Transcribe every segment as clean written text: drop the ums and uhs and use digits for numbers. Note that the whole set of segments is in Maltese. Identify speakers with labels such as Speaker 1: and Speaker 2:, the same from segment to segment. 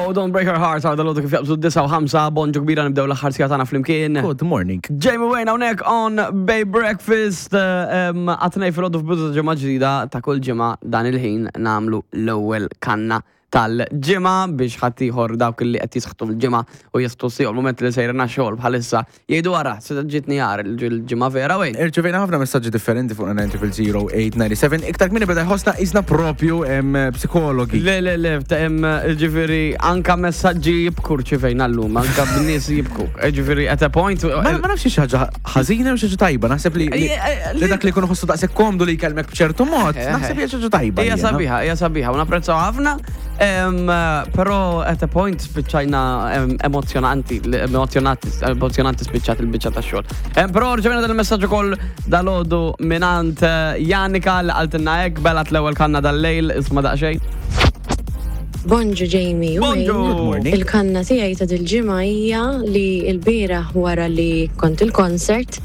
Speaker 1: Go, Don't Break Her Heart, għal dal kif jaqbżu 9:05, bonġu kbira, nibdew l-aħħar siegħa tagħna flimkien.
Speaker 2: Good morning.
Speaker 1: Jamie Wayne hawnhekk on Bay Breakfast, għat-2 filgħodu f'bidu ta' ġimgħa ġdida. Ta' kull ġimgħa dan il-ħin nagħmlu l-ewwel kanna tal-ġimgħa biex ħaddieħor, dawk li qed jisħtu l-ġimgħa u jisħtu siju l-moment li sejrin għax-xogħol bħalissa, jgħidu, "Ara, se ġietni għar il-ġimgħa vera, Wayne."
Speaker 2: Irċevejna ħafna messaġġi differenti fuq 9000897. Iktar kmieni beda jħossna qisna propju psikologi.
Speaker 1: Le, le, le, ġifieri, anka messaġġi jibku rċivejna llum, anka b'nies jibku. Ġifieri, at a point.
Speaker 2: Ma nafx xi ħaġa ħażina u xi ħaġa tajba, naħseb li dak li jkun ħossu daqshekk komdu li jkellmek b'ċertu mod, naħseb hija xi ħaġa tajba.
Speaker 1: Hija sabiħa, hija sabiħa, u napprezzaw ħafna, però at a point spiċċajna emozjonanti, emozjonanti, emozjonanti spiċċat il-biċċa ta' xogħol. Però rċevejna dan il-messaġġ ukoll dalgħodu mingħand Janika li qaltilna hekk, belgħet l-ewwel kanna dal-lejl, isma' daqsxejn.
Speaker 3: Bonġu, Jamie. U
Speaker 1: Bonġu.
Speaker 3: Wayne.
Speaker 2: Good morning.
Speaker 3: Il-kanna tiegħi ta' dil-ġimgħa hija li l-bieraħ wara li kont il-concert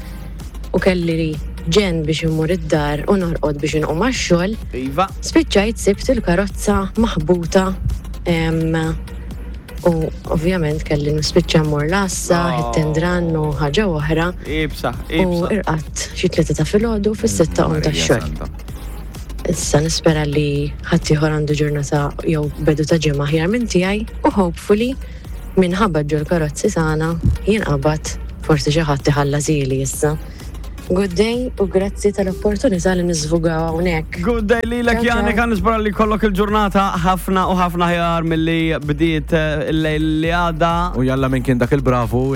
Speaker 3: u kelli ġen biex immur id-dar u norqod biex inqum għax-xogħol, spiċċajt sibt il-karozza maħbuta u ovvjament kelli nispiċċa mmur l-għassa,
Speaker 1: Oh.
Speaker 3: hit and run u ħaġa oħra
Speaker 1: Ibsa,
Speaker 3: u
Speaker 1: ibsa.
Speaker 3: irqadt xi 3 ta' filgħodu, fis-6 qomt
Speaker 2: Marija
Speaker 3: għax-xogħol.
Speaker 2: Santa.
Speaker 3: Issa nispera li ħaddieħor għandu ġurnata jew bidu ta' ġimgħa aħjar minn tiegħi u hopefully minħabba ġol karozzi tagħna jinqabad, forsi xi ħadd iħallas ili issa. Good day u grazzi tal-opportunità li niżvugaw hawnhekk.
Speaker 1: Good day lilek.
Speaker 3: Ciao, ciao.
Speaker 1: Janika, nispera li kollok il-ġurnata ħafna u ħafna ħjar milli bdiet il-lejl li għadda.
Speaker 2: U jalla minn kien dak il-bravu.